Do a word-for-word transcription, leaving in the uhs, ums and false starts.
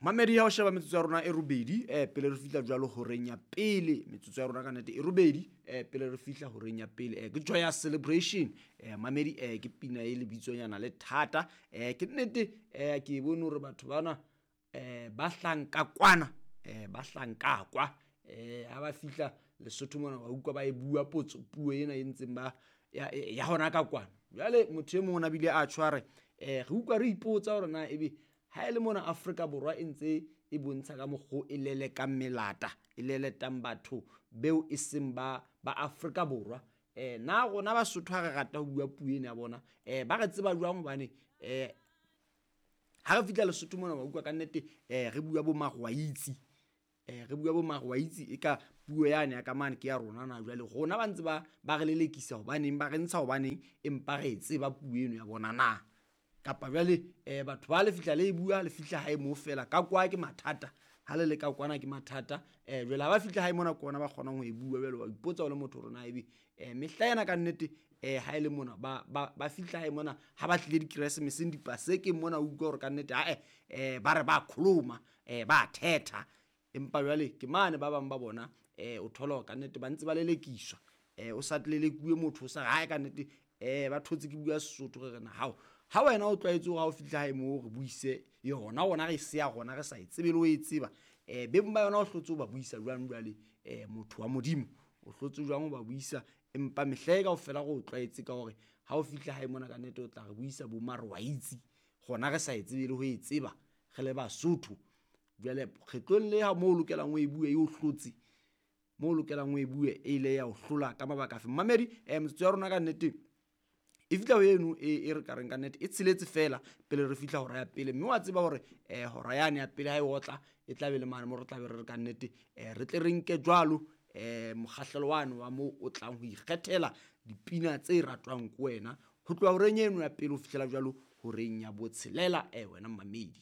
Mamedi, ha o sheba metsotso ya rona e robedi eh pele re fihla jwalo horeng ya pele, metsotso ya rona ka nnete e robedi eh pele re fihla horeng ya pele. Eh ke Joyous Celebration. Eh mamedi, eh ke pina e lebitsonyana le thata. Eh ke nnete eh ke bone hore batho bana eh ba hlanka kwana, eh ba hlanka kwa. Eh ha ba fihla Lesotho mona ba utlwa ba e bua potso puo ena e ntseng ba ya, ya hona ka kwana. Jwale motho e mong o na bile a tshware eh re utlwa re ipotsa hore na ebe ha e le mona Afrika Borwa e ntse e bontsha ka mokgo e lelekang melata, e leletang batho beo e seng ba ba Afrika Borwa. Eh na rona Basotho ha re rata ho bua puo ena ya bona, eh ba re tseba jwang? Hobane eh ha re fihla Lesotho mona ba utlwa ka nnete eh re bua bo marwaitsi, eh re bua bo marwaitsi e ka puo yane ya ka mane ke ya rona na. Jwale rona ba ntse ba ba re lelekisa hobaneng, ba re ntsha hobaneng, empa re e tseba puo eno ya bona na? Kapa jwale eh batho ba le fihla le e bua, le fihla hae moo fela ka kwa ke mathata, ha le le ka kwana ke mathata. Eh jwale ha ba fihla hae mona ke ona ba kgonang ho e bua. Jwale wa ipotsa o le motho hore na ebe eh mehla ena ka nnete eh ha e le mona ba ba ba fihla hae mona ha ba tlile dikeresemeseng dipasekeng mona, o utlwa hore ka nnete ae eh ba re ba kholoma, eh ba thetha. Empa jwale ke mane ba bang ba bona eh o thola hore ka nnete ba ntse ba lelekiswa. Eh o sa lelekuwe motho o sa re hae ka nnete eh ba thotse ke bua Sesotho re re na hao. Ha wena o tlwaetse hore ha o fihla hae moo re buise yona, rona re se ya rona re sa e tsebe le ho e tseba. Eh beng ba yona o hlotse o ba buisa jwang jwale? Eh motho wa Modimo o hlotse jwang o ba buisa? Empa mehla e kaofela re o tlwaetse ka hore ha o fihla hae mona ka nnete o tla re buisa bo marwaitsi, rona re sa e tsebe le ho e tseba re le Basotho. Jwale kgetlong le ha moo o lokelang o e bue e o hlotse, moo o lokelang o e bue e ile ya o hlola ka mabaka afe? Mamedi, eh metsotso ya rona ka nnete e fihla ho eno e e re ka reng ka nnete e tsheletse fela pele re fihla hora ya pele. Mme wa tseba hore eh hora yane ya pele ha e otla e tla be le mane mo re tla be re re ka nnete eh re tle re nke jwalo eh mokgahlelo wane wa moo o tlang ho ikgethela dipina tse ratwang ke wena ho tloha horeng eno ya pele ho fihlela jwalo horeng ya botshelela. Eh wena mmamedi.